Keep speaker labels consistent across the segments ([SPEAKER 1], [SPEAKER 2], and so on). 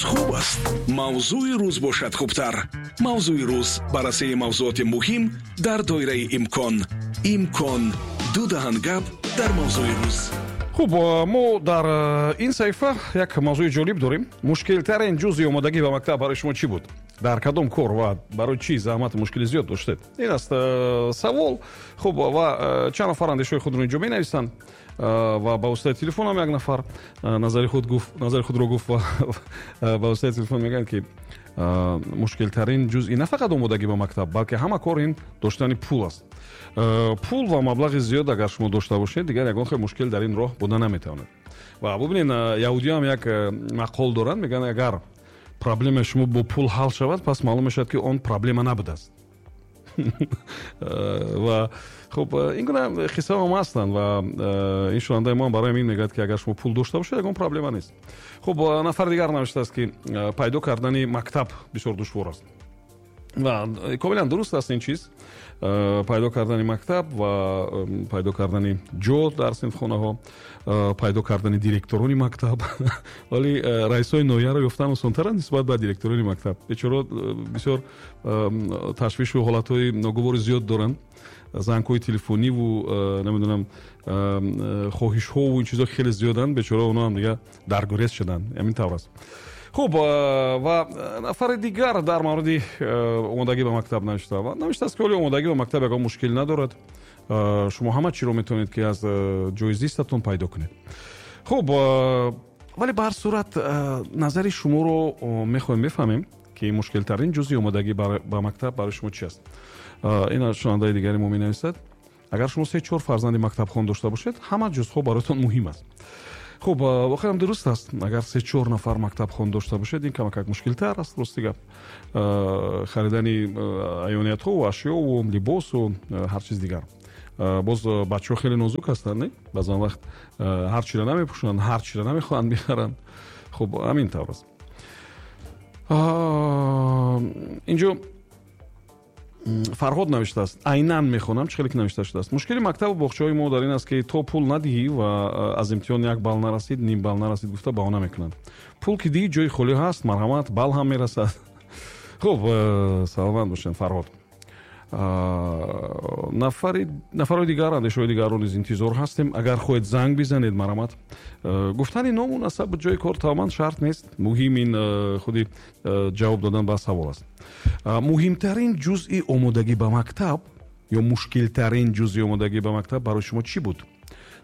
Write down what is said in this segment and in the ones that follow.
[SPEAKER 1] Рӯз хуб аст, мавзӯи рӯз бошад хубтар. Мавзӯи рӯз: баррасии мавзуоти муҳим дар доираи имкон. Имкон ду даҳан гап дар мавзӯи рӯз.
[SPEAKER 2] Хуб, мо дар ин саҳифа як мавзӯи ҷолиб дорем. Мушкилтарин ҷузъи омодагӣ ба мактаб барои шумо чӣ буд? Дар кадом кор ва барои чӣ заҳмату мушкили зиёд доштед? Ин аст савол. Хуб, ва чанд нафар андешаҳои худро инҷо менависанд ва ба воситаи телефонам як нафар назари худ гуфт, назари худро гуфт ва ба воситаи телефон мегӯянд, ки мушкилтарин ҷузъи на фақат омодагӣ ба мактаб, балки ҳама кор ин доштани пул аст. Пул ва маблағи зиёд агар шумо дошта бошед, дигар ягон хел мушкил дар ин роҳ буда наметавонад. Ва бубинед, яҳудиёам як мақол доранд, мегӯянд, агар проблемаи шумо бо пул ҳал шавад, пас маълум мешавад, ки он проблема набудааст. Ва хуб, ин гуна қиссаҳо ҳастанд ва ин шунавандаи мо барои ин мегӯяд, ки агар шумо пул дошта бошед, ягон проблема нест. Хуб, нафари дигар навиштааст, ки пайдо кардани мактаб бисёр душвор аст. Ва комилан дуруст аст ин чиз, пайдо кардани мактаб ва пайдо кардани ҷо дар синфхонаҳо, пайдо кардани директорони мактаб. Вале раисои ноҳияро ёфтан осонтар нисбат ба директорони мактаб. Бечора бисёр ташвишу ҳолатҳои ногувори зиёд доранд, зангҳои телефониву, намедонам, хоҳишҳову ин чизҳо хеле зиёданд. Бечора онҳо ҳам дигар даргурез шуданд, ҳамин тавр аст. Хуб, ва нафари дигар дар мавриди омодагӣ ба мактаб навишта ва навиштааст, ки оли омодагӣ ба мактаб ягон мушкил надорад, шумо ҳама чиро метавонед, ки аз ҷои зистатон пайдо кунед. Хуб, вале ба ҳар сурат назари шуморо мехоҳем бифаҳмем, ки мушкилтарин ҷузъи омодагӣ ба мактаб барои шумо чи аст. Ин шунавандаи дигари мо менависад: агар шумо се чор фарзанди мактабхон дошта бошед, ҳама ҷузъҳо бароятон муҳим аст. Хуб, воқеан дуруст аст. Агар се чор нафар мактабхон дошта бошед, ин камакак мушкилтар аст, рости гап, харидани аёниятҳову ашёву либосу ҳар чиз дигар. Боз бачаҳо хеле нозук ҳастанд, не? Баъзан вақт ҳар чиро намепӯшанд, ҳар чиро намехоҳанд бихаранд. Хуб, ҳамин тавр аст. Инҷо Фарҳод навиштааст, айнан мехонам, чӣ хеле ки навишта шудааст: мушкили мактабу боғчаҳои мо дар ин аст, ки то пул надиҳӣ ва аз имтиҳон як балл нарасид, ним балл нарасид гуфта баҳона мекунанд. Пул ки диҳӣ, ҷои холӣ ҳаст, марҳамат, балл ҳам мерасад. Хуб, саломат бошед, Фарҳод. Нафарои дигар, андешаҳои дигарро низ интизор ҳастем. Агар хоҳед, занг бизанед, марҳамат. Гуфтани ному насабу ҷои кор тамоман шарт нест, муҳим ин худи ҷавоб додан ба савол аст. Муҳимтарин ҷузъи омодагӣ ба мактаб ё мушкилтарин ҷузъи омодагӣ ба мактаб барои шумо чӣ буд?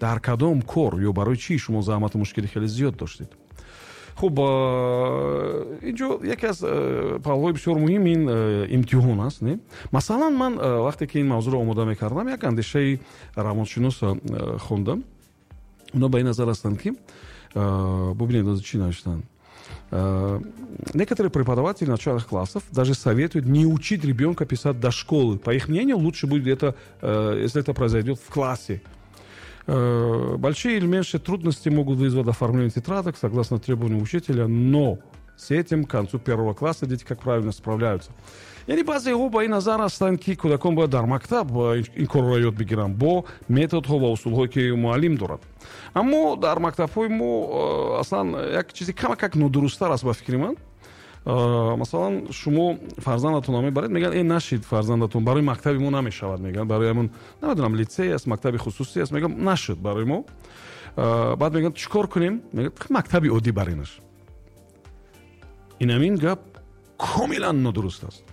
[SPEAKER 2] Дар кадом кор ё барои чӣ шумо заҳмату мушкили хеле зиёд доштед? Хуб, инҷо яке аз паҳлӯҳои бисёр муҳим ин имтиҳон аст, не? Масалан, ман вақте ки ин мавзӯъро омода мекардам, як андешаи равоншинос хондам. Онҳо ба ин назар ҳастанд, ки, бубинед, чӣ навиштанд: некоторые преподаватели начальных классов даже советуют не учить ребенка писать до школы. По их мнению, лучше будет это, если это произойдет в классе. Большие или меньшие трудности могут вызвать оформление тетрадок согласно требованиям учителя, но с этим к концу первого класса дети, как правило, справляются. Яъне баъзеҳо ба ин назар ҳастанд, ки кӯдакон бояд дар мактаб ин корро ёд бигиранд бо методҳо ва усулҳое, ки муаллим дорад. Аммо дар мактабҳои мо аслан як чизи камакак нодурусттар аст, ба фикри ман. Масалан, шумо фарзандатонро мебаред, мегӯянд: «Э, нашид, фарзандатон барои мактаби мо намешавад», мегӯянд, барои ҳамон, намедонам, литсей аст, мактаби хусусӣ аст, мегӯям, нашуд барои мо. Баъд мегӯянд: «Чӣ кор кунем?» Мегӯяд: «Мактаби оддӣ баринаш». Инамин гап комилан нодуруст аст,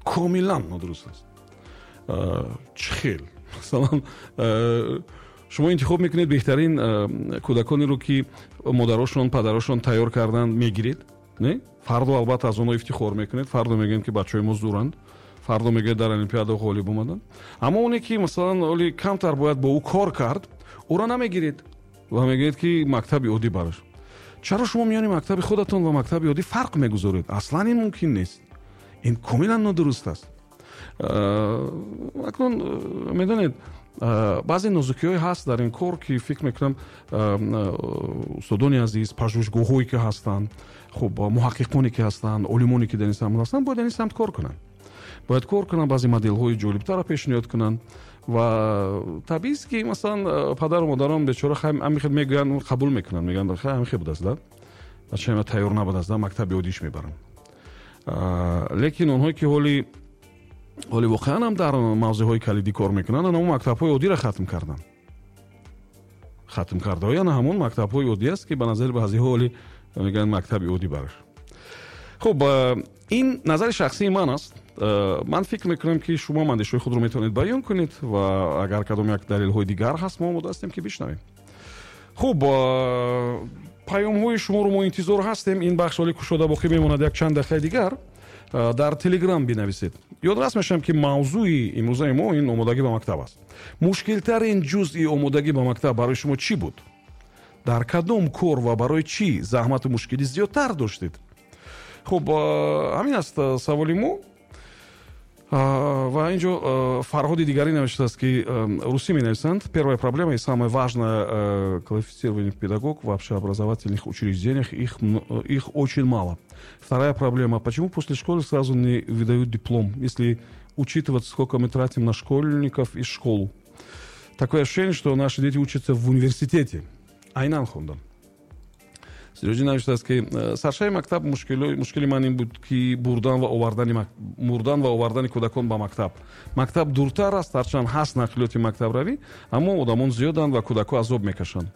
[SPEAKER 2] комилан нодуруст аст. Чӣ хел? Масалан, шумо интихоб мекунед беҳтарин кӯдаконеро, ки модарошон, падарошон тайёр карданд, мегиред, не? Фардо албатта аз онҳо ифтихор мекунед, фардо мегӯем, ки бачаҳои мо зуранд, фардо мегӯяд, дар олимпиада ғолиб омаданд. Аммо оне ки, масалан, оли камтар бояд бо ӯ кор кард, ӯро намегиред ва мегӯед, ки мактаби оддӣ бараш. Чаро шумо миёни мактаби худатон ва мактаби оддӣ фарқ мегузоред? Аслан ин мумкин нест, ин комилан нодуруст аст. Акнун, медонед, баъзе нозукиҳое ҳаст дар ин кор, ки фикр мекунам, устодони азиз, пажӯҳишгоҳҳое ки ҳастанд, хуб, муҳаққиқоне ки ҳастанд, олимоне ки дар ин самт ҳастанд, бояд дар ин самт кор кунанд, бояд кор кунанд, баъзе моделҳои ҷолибтарро пешниҳод кунанд. Ва табиист, ки масалан падару модарон бечора ҳамин хел мегӯянд, қабул мекунанд, мегӯянд: «Ҳамин хел будааст да». Бачаи ман тайёр набудааст, мактаби оддиш мебарам. Лекин онҳое ки ҳоли воқеан ҳам дар мавзеъҳои калидӣ кор мекунанд, ана ҳамон мактабҳои оддиро хатм карданд. Хатм кардаҳои ана ҳамон мактабҳои оддӣ аст, ки ба назари баъзеҳо ҳоли мегӯянд мактаби оддӣ бараш. Хуб, ин назари шахсии ман аст. Ман фикр мекунам, ки шумо андешаҳои худро метавонед баён кунед ва агар кадом як далелҳои дигар ҳаст, мо омода ҳастем, ки бишнавем. Хуб, паёмҳои шуморо мо интизор ҳастем. Ин бахш ҳоли кушода боқӣ мемонад як чанд дақиқаи дигар. Дар Телеграм бинависед. Ёдрас мешавам, ки мавзӯи имрӯзаи мо ин омодагӣ ба мактаб аст. Мушкилтарин ҷузъи омодагӣ ба мактаб барои шумо чӣ буд? Дар кадом кор ва барои чӣ заҳмату мушкилӣ зиёдтар доштед? Хуб, ҳамин аст саволи мо. Ва инҷо Фарҳоди дигарӣ навиштааст, ки русӣ менависанд: первая проблема и самое важное, квалифицированный педагог в общеобразовательных учреждениях, их очень мало. Вторая проблема: почему после школы сразу не выдают диплом, если учитывать, сколько мы тратим на школьников и школу? Такое ощущение, что наши дети учатся в университете. Айнан хондам. Сироҷӣ навиштааст, ки саршави мактаб мушкили ман ин буд, ки бурдан ва овардани кӯдакон ба мактаб. Мактаб дуртар аст, ҳарчанд ҳаст нақлиёти мактабравӣ, аммо одамон зиёданд ва кӯдакҳо азоб мекашанд.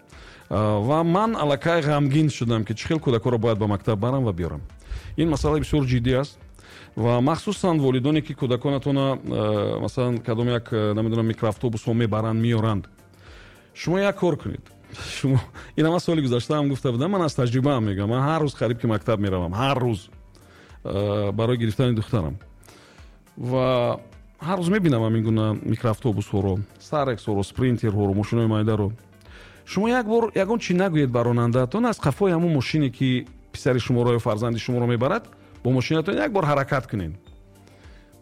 [SPEAKER 2] Ва ман аллакай ғамгин шудам, ки чӣ хел кӯдакҳоро бояд ба мактаб барам ва биёрам. Ин масъала бисёр ҷиддӣ аст ва махсусан волидоне, ки кӯдаконатона масалан кадом як намедонам микроавтобусҳо мебаранд, меоранд. Шумо як кор кунед. Шумо ин ама соли гузашта ҳам гуфта будам, ман аз таҷрибаам мегӯям. Ман ҳар рӯз қариб ки мактаб меравам, ҳар рӯз барои гирифтани духтарам. Ва ҳар рӯз мебинам ҳамин гуна микроавтобусҳоро, старексҳоро, спринтерҳоро, мошинои майдаро. Шумо як бор ягон чӣ нагӯед ба ронандаатон, аз қафои ҳамон мошине, ки писари шуморо ё фарзанди шуморо мебарад, бо мошинатон як бор ҳаракат кунед.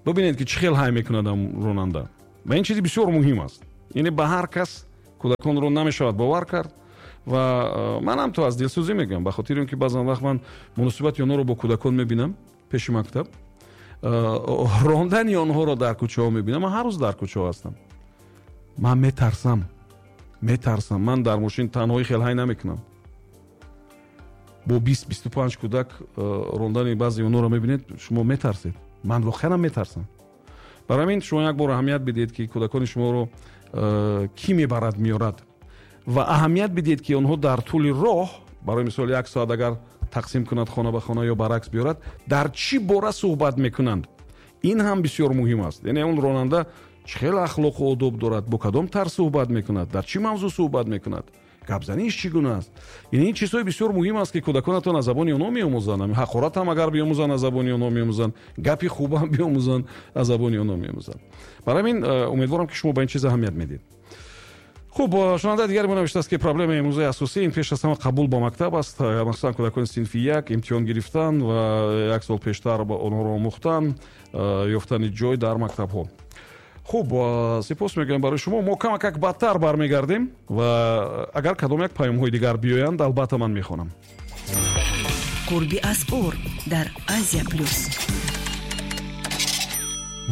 [SPEAKER 2] Бибинед, ки чӣ хел ҳай мекунад ронанда. Ва ин чизи бисёр муҳим аст. Яъне ба ҳар кас кӯдаконро намешавад бовар кард. Ва манам то аз дилсӯзӣ мегӯям, ба хотири он ки баъзан вақт ман муносибати онҳоро бо кӯдакон мебинам пеши мактаб, рондани онҳоро дар кӯчаҳо мебинам. Ман ҳар рӯз дар кӯчаҳо ҳастам. Ман метарсам. Ман дар мошин танҳоӣ хел ҳай намекунам. Бо 20-25 кӯдак рондани баъзе онҳоро мебинед, шумо метарсед. Ман воқеан метарсам. Барои ҳамин шумо як бор аҳамият бидиҳед, ки кӯдакони шуморо кӣ мебарад, меорад, ва аҳамият бидиҳед, ки онҳо дар тӯли роҳ, барои мисол як соат агар тақсим кунад хона ба хона ё баръакс биёрад, дар чӣ бора суҳбат мекунанд. Ин ҳам бисёр муҳим аст. Яъне он ронанда чӣ хел ахлоқу одоб дорад, бо кадом тарз суҳбат мекунад, дар чӣ мавзӯъ суҳбат мекунад, гапзаниш чӣ гуна аст. Яъне ин чизҳои бисёр муҳим аст, ки кӯдаконатон аз забони онҳо меомӯзанд. Ҳақорат ҳам агар биомӯзанд, аз забони онҳо меомӯзанд, гапи хуб ҳам биомӯзанд, аз забони онҳо меомӯзанд. Барои ҳамин умедворам, ки шумо ба ин чиз аҳамият медиҳед. Хуб, шунавандаи дигари мо навиштааст, ки проблемаи имрӯзаи асосӣ ин пеш аз ҳама қабул ба мактаб аст. Махсусан кӯдакони синфи як имтиҳон гирифтан ва як сол пештар ба онҳоро омӯхтан, ёфтани ҷой дар мактабҳо. Хуб, сипос мегӯям барои шумо. Мо камакак бадтар бармегардем ва агар кадом як паёмҳои дигар биёянд, албатта ман мехонам.
[SPEAKER 3] Қурби асъор дар Азия Плюс.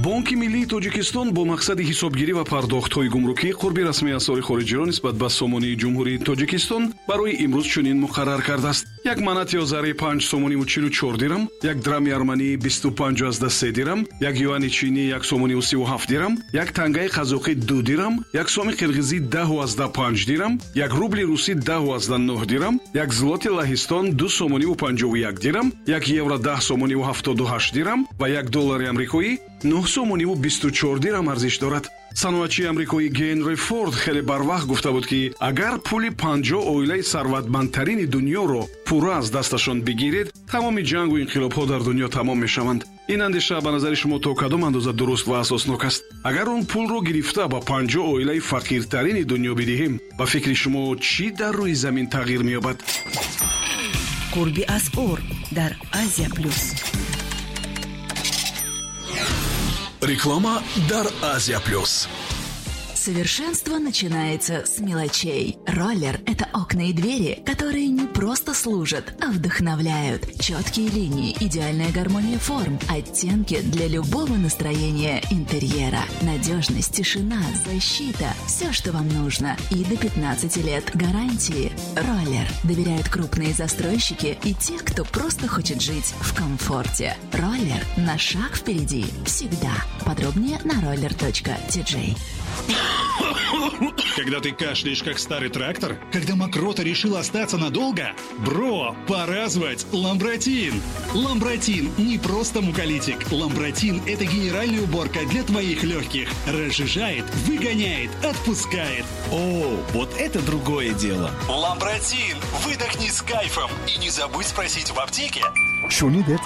[SPEAKER 1] Бонки миллии Тоҷикистон бо мақсади ҳисобгирӣ ва пардохтҳои гумрукӣ қурби расмии асъори хориҷиро нисбат ба сомонии Ҷумҳурии Тоҷикистон барои имрӯз чунин муқаррар кардааст: як манати озарӣ 5 сомониву 44 дирам, як драми арманӣ 25,3 дирам, як юани чинӣ 1 сомониву 37 дирам, як тангаи қазоқӣ 2 дирам, як соми қирғизӣ 10,5 дирам, як рубли русӣ 10,9 дирам, як злоти Лаҳистон 2 сомониву 51 дирам, як евро 10 сомониву 78 дирам ва як доллари амрикоӣ 9 сомониву 24 дирам арзиш дорад. Саноатчии амрикоӣ Генри Форд хеле барвақт гуфта буд, ки агар пули 50 оилаи сарватмандтарини дунёро пурра аз дасташон бигиред, тамоми ҷангу инқилобҳо дар дунё тамом мешаванд. Ин андеша ба назари шумо то кадом андоза дуруст ва асоснок аст? Агар он пулро гирифта ба 50 оилаи фақиртарини дунё бидиҳем, ба фикри шумо чӣ дар рӯи замин тағйир меёбад?
[SPEAKER 3] Қурби асъор дар Азия Плюс.
[SPEAKER 1] Реклама дар Азия Плюс.
[SPEAKER 4] Совершенство начинается с мелочей. Роллер – это окна и двери, которые не просто служат, а вдохновляют. Четкие линии, идеальная гармония форм, оттенки для любого настроения интерьера. Надежность, тишина, защита – все, что вам нужно. И до 15 лет гарантии. Роллер доверяют крупные застройщики и те, кто просто хочет жить в комфорте. Роллер на шаг впереди всегда. Подробнее на roller.tj.
[SPEAKER 1] Когда ты кашляешь, как старый трактор? Когда мокрота решила остаться надолго? Бро, пора звать Ламбратин! Ламбратин не просто муколитик. Ламбратин – это генеральная уборка для твоих легких. Разжижает, выгоняет, отпускает.
[SPEAKER 5] О, вот это другое дело.
[SPEAKER 1] Ламбратин! Выдохни с кайфом и не забудь спросить в аптеке.
[SPEAKER 6] Шунидед?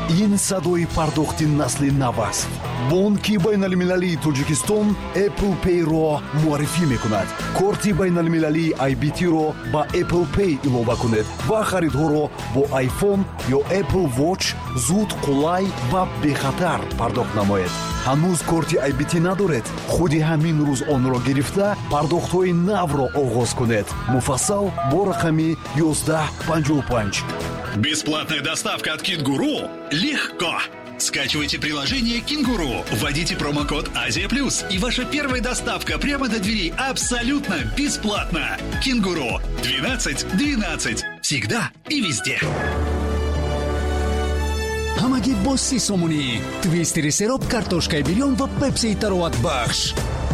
[SPEAKER 6] Ин садои пардохти насли нав аст. Бонки байналмилалии Тоҷикистон Apple Pay-ро муаррифӣ мекунад. Корти байналмилалии IBT-ро ба Apple Pay илова кунед ва харидҳоро бо iPhone ё Apple Watch зуд, қулай ва бехатар пардохт намоед. Ҳанӯз корти IBT надоред? Худи ҳамин рӯз онро гирифта, пардохтҳои навро оғоз кунед. Муфассал бо рақами 1155.
[SPEAKER 1] Бесплатная доставка от Кенгуру легко. Скачивайте приложение «Кенгуру», вводите промокод «Азия Плюс», и ваша первая доставка прямо до дверей абсолютно бесплатно. «Кенгуру» 12 12. Всегда и везде.
[SPEAKER 7] Ҳамагӣ бо 30 сомонӣ твистери сероб, картошкаи бирён ва пепсии тароватбахш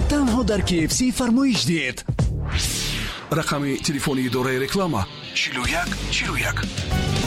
[SPEAKER 7] танҳо дар KFC фармоиш диҳед.
[SPEAKER 1] Рақами телефони идораи реклама: 41 41.